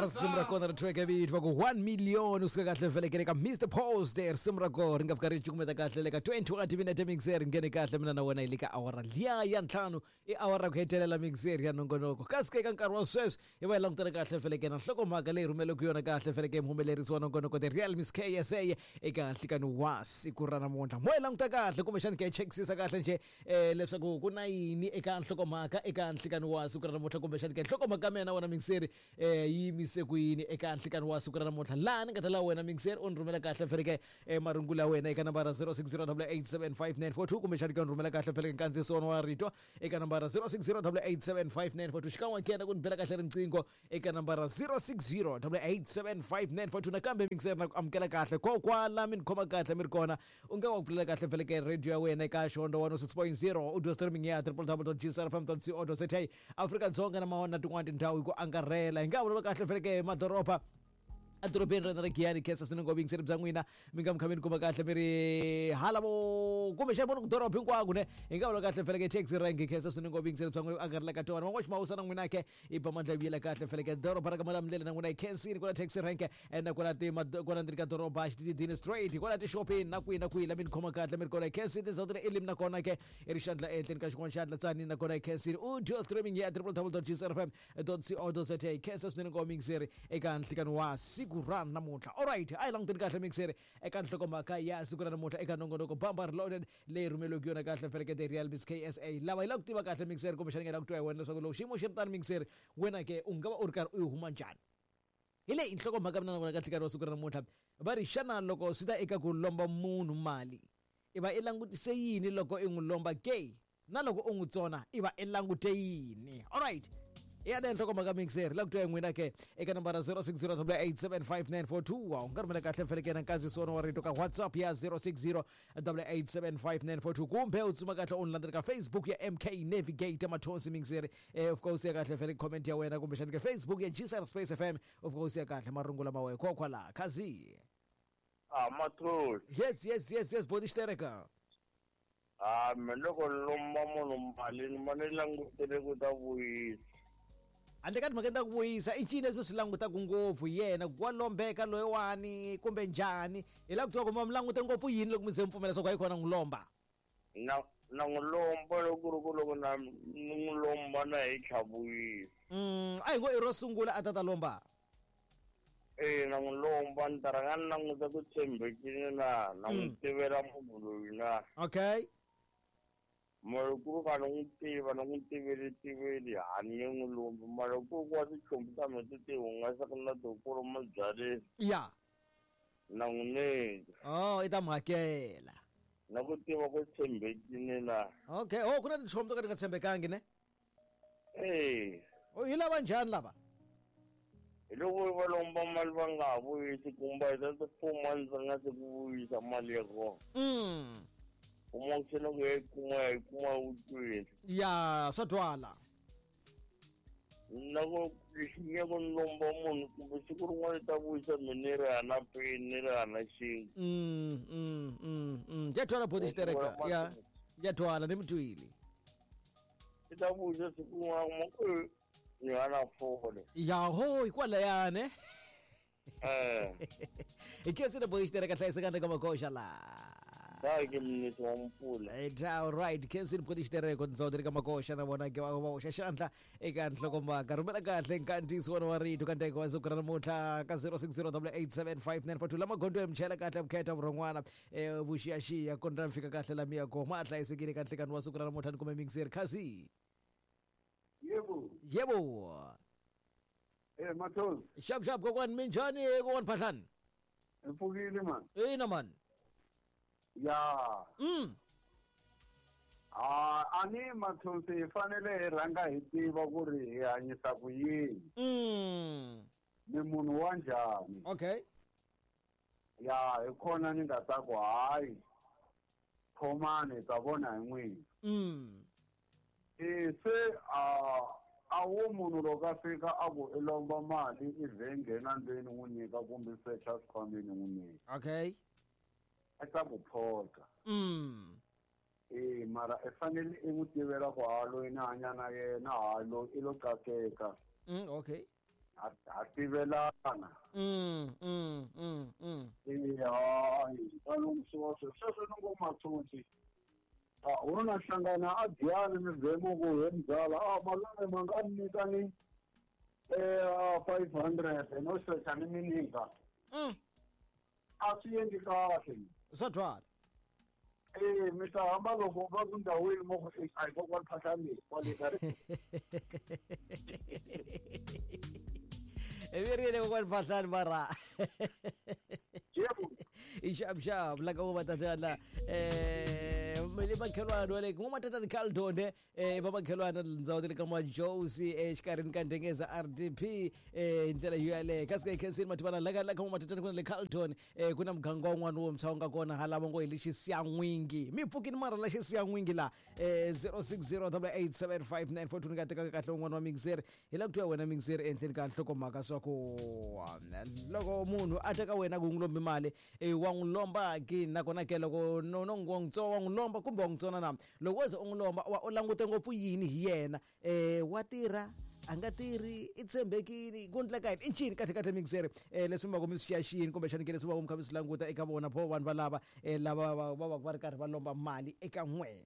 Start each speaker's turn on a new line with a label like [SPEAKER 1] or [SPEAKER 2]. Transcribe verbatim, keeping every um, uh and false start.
[SPEAKER 1] Risimu ra kona ri thweke vito va ku one million u suka kahle vhele ka Mister Post risimu ra kona ri nga fika ri cukumeta kahle le ka twenty-one timinete mixer nghene kahle mina na wena hi le ka awara liya ya ntlhanu i awara ku hetelela mixer ya nongonoko kasi ke ka nkarhi wa sweswi hi va hi langutana kahle vhele ke na nhlokomhaka leyi rhumeleke yona kahle vhele ke muhumelerisi wa nongonoko the Real Miss K S A eka nhlikani wa siku ra namuntlha mo hi languta kahle kumbexani ke chekisisa kahle nje eh leswaku ku na yini eka nhlokomhaka eka nhlikani wa siku ra namuntlha kumbexani ke nhlokomhaka mina wena mixer eh yi yimise ku yini eka nhlikani wa siku ra namuntlha laha ni nga ta lava wena mixer u ni rhumela kahle vhele ke marungula ya wena eka nambara zero six zero eight seven five nine four two kumbexani ke u ni rhumela kahle vhele ke nkandziyiso wa rito eka nambara zero six zero eight seven five nine four two xikan'we kena ku ni bela kahle riqingho eka nambara zero six zero eight seven five nine four two nakambe mixer na ku amukela kahle kokwala mi ni khoma kahle mi ri kona u nga wa ku pfulela kahle vhele ke radio ya wena eka Xhondo one oh six point zero audio streaming ya w w w dot g s r f m dot co dot za Afrika-Dzonga na mahona tin'wana tindhawu hi ku angarhela hi nga vulavula kahle vhele ke madoroba edorobeni ra Giyani khensa swinene ngopfu yingiseri bya n'wina mi nga mi kha mi ni kuma kahle mi ri hala vo kumbexana vona ku doroba hinkwako ne hi nga vula kahle vhele ke taxi rank khensa swinene ngopfu yingiseri bya n'wina angarhela ka tona van'wana ximawusa na n'wina ke i ba mandla vuyela kahle vhele ke doroba ra ka Malamulele na n'wina hi khensini kwala taxi rank na kwala ti kwala ndzeni ka doroba xititidini straight kwala tixopeni na kwihi na kwihi la mi ni khoma kahle mi ri kona hi khensini tindhawu ta le Elim na kona ke i ri xandla ehenhleni ka xin'wana xandla tsani na kona hi khensini audio streaming ya w w w dot g s r f m dot co dot za khensa swinene ngopfu yingiseri eka nhlikani wa siku ra namuntlha. Alright, a hi languteni kahle mixer eka nhlokomhaka ya siku ra namuntlha eka nongonoko Bamba Reloaded leyi rhumeliweke yona kahle vhele ke the Real Miss K S A lava hi lava ku tiva kahle mixer kumbexana nga lava ku twa hi wena leswaku loko xiyimo xi ri tani mixer wena ke u nga va u ri karhi u yi huma njhani hi leyi nhlokomhaka mina na vona ka nhlikani wa siku ra namuntlha va ri xana loko swi ta eka ku lomba munhu mali i va i langutise yini loko i n'wi lomba ke na loko u n'wi tsona i va i langute yini. Alright, ya le nhlokomhaka mixer la ku twa hi n'wina ke eka nambara zero six zero eight seven five nine four two u nga rhumela kahle vhele ke na nkandziyiso wa rito ka WhatsApp ya zero six zero eight seven five nine four two kumbe u tsuma kahle u ni landzela ka Facebook ya M K Navigator Mathonsi mixer eh of course ya kahle vhele comment ya wena kumbexani ke Facebook ya G S R Space F M of course ya kahle marungula ma wena kokwala khazi
[SPEAKER 2] ah Mathonsi
[SPEAKER 1] yes yes yes yes body xitereka
[SPEAKER 2] ah me loko lomba munhu mali ni mane langutele ku ta vuyisa
[SPEAKER 1] handle ka timhaka ta ku vuyisa i ncini leswi mi swi langutaka ngopfu yena ku wa lombeka loyiwani kumbe njhani hi lava ku tiva ku mi langute ngopfu yini loko mi ze mi pfumela leswaku hayi kona n'wi lomba
[SPEAKER 2] na na n'wi lomba loko ku ri ku loko na ni n'wi lomba na hi tlhavuyisa
[SPEAKER 1] mm a hi ngo i ro sungula a ta ta lomba
[SPEAKER 2] e na n'wi lomba ni ta rhanga ni languta ku tshembekile na na n'wi tivela munhu loyi na
[SPEAKER 1] okay
[SPEAKER 2] mara ku ka ni n'wi tiva ni n'wi tiveli tiveli ha ni nge n'wi lombi mara ku ku wa tichomi ta mina ti ti hungasaka na to ku mabyaleni
[SPEAKER 1] ya
[SPEAKER 2] na n'wi nyika
[SPEAKER 1] oh i ta mi hakela
[SPEAKER 2] na ku tiva ku tshembekile na
[SPEAKER 1] okay oh ku na tichomi to ka ti nga tshembekangi ne
[SPEAKER 2] eh
[SPEAKER 1] oh hi lava njhani lava
[SPEAKER 2] hi loko va lomba mali va nga ha vuyisi kumbe hi ta ti four months va nga se ku vuyisa mali ya kona
[SPEAKER 1] mm
[SPEAKER 2] kuma ku loko ya kuma ya kuma u twile
[SPEAKER 1] ya swa twala
[SPEAKER 2] loko lexi ku lomba munhu kumbe siku rin'wana ta vuyisa mina ni ri hana peni ni ri hana xinkwa
[SPEAKER 1] mm mm mm mm ya twala body xitereka ya ya twala ni mi twile
[SPEAKER 2] i ta vuyisa siku rin'wana kuma ku ni hana fole
[SPEAKER 1] ya ho hikwalaya
[SPEAKER 2] eh
[SPEAKER 1] hi khensile body xitereka hlayisekani ka makoxa laha
[SPEAKER 2] Thank you, Mister Mpula.
[SPEAKER 1] All right, khensile body xitereko tindhawu ti ri ka makoxa na vona ke va va hoxa xandla eka nhlokomhaka rhumela kahle nkandziyiso wona wa rito ka nteko wa siku ra namuntlha ka zero six zero eight seven five nine four two lama gondzweni mi chayela kahle vukhetha vurhon'wana um vuxiyaxiya kondra mi fika kahle la mi ya kona ma hlayisekile ka nhlekani wa siku ra namuntlha ni kume mixer khazi
[SPEAKER 3] yebo
[SPEAKER 1] yebo
[SPEAKER 3] eh Mathonsi
[SPEAKER 1] xap xap kokwani minjhani kokwani Phahlani
[SPEAKER 3] mpfukile man
[SPEAKER 1] ina man
[SPEAKER 3] ya
[SPEAKER 1] mm
[SPEAKER 3] ah ani Mathonsi hi fanele hi rhanga hi tiva ku ri hi hanyisa ku yini
[SPEAKER 1] mm
[SPEAKER 3] ni munhu wa njhani
[SPEAKER 1] okay
[SPEAKER 3] ya hi kona ni nga ta ku hayi khomani hi ta vona hi n'wina
[SPEAKER 1] mm
[SPEAKER 3] e se a a wo munhu loko a fika a ku i lomba mali i vhe nghena ndlwini n'wi nyika kumbe secha xikhwameni n'wi nyika
[SPEAKER 1] okay
[SPEAKER 3] i ta ku phoqa
[SPEAKER 1] mm
[SPEAKER 3] e mara i fanele i n'wi tivela ku ha loyi ni hanya na yena ha loyi i lo qakeka
[SPEAKER 1] mm okay
[SPEAKER 3] Ha ha tivelana.
[SPEAKER 1] Mm mm mm mm.
[SPEAKER 3] Eh hayi, kwalomu sweswo sweswo ni ngo matsotsi. A u na hlangana a diyani mi vhemo ku he mzala a malume ma nga ni nyika ni eh five hundred no secha ni mi nyika.
[SPEAKER 1] Mm.
[SPEAKER 3] A swi endli kahle.
[SPEAKER 1] Swa twala.
[SPEAKER 3] Eh mi ta hamba loko va ku ndhawini mo ku a hi kokwani Phahlane kwale ka
[SPEAKER 1] Evirile kokwani Phahlane mara.
[SPEAKER 3] Yebo.
[SPEAKER 1] Ixavuxavu la ka vomatatana eh le makhelwani wa le n'wamatatana Carlton eh va makhelwana ndhawu ta le ka Majosi exikarhini ka Ndengeza R D P eh hi ndlela yo yaleyo kasi ka khensini mativana la ka la ka n'wamatatana ku na le Carlton eh ku na muganga wun'wana wuntshwa wu nga kona hala va ngo hi le Xisiyan'wingi mi pfukini mara la Xisiyan'wingi la eh zero six zero double eight seven five nine four two ni nga tekaka kahle wun'wana wa mixer hi la ku twa wena mixer ehenhleni ka nhlokomhaka swa ku loko munhu a teka wena ku n'wi lombi mali eh wa n'wi lomba ki nakona ke loko no no wa n'wi wa n'wi lomba kumbe wa n'wi tsona na loko wo ze u n'wi lomba wa u langute ngopfu yini hi yena eh wa tirha a nga tirhi i tshembekile ku ndleka yini i ncini kahle kahle mixer eh leswi mi va ku mi swi xiyaxiyini kumbexani ke leswi va ku mi kha mi swi languta eka vona vo vanhu valava eh lava va va va va ri karhi va lomba mali eka n'we.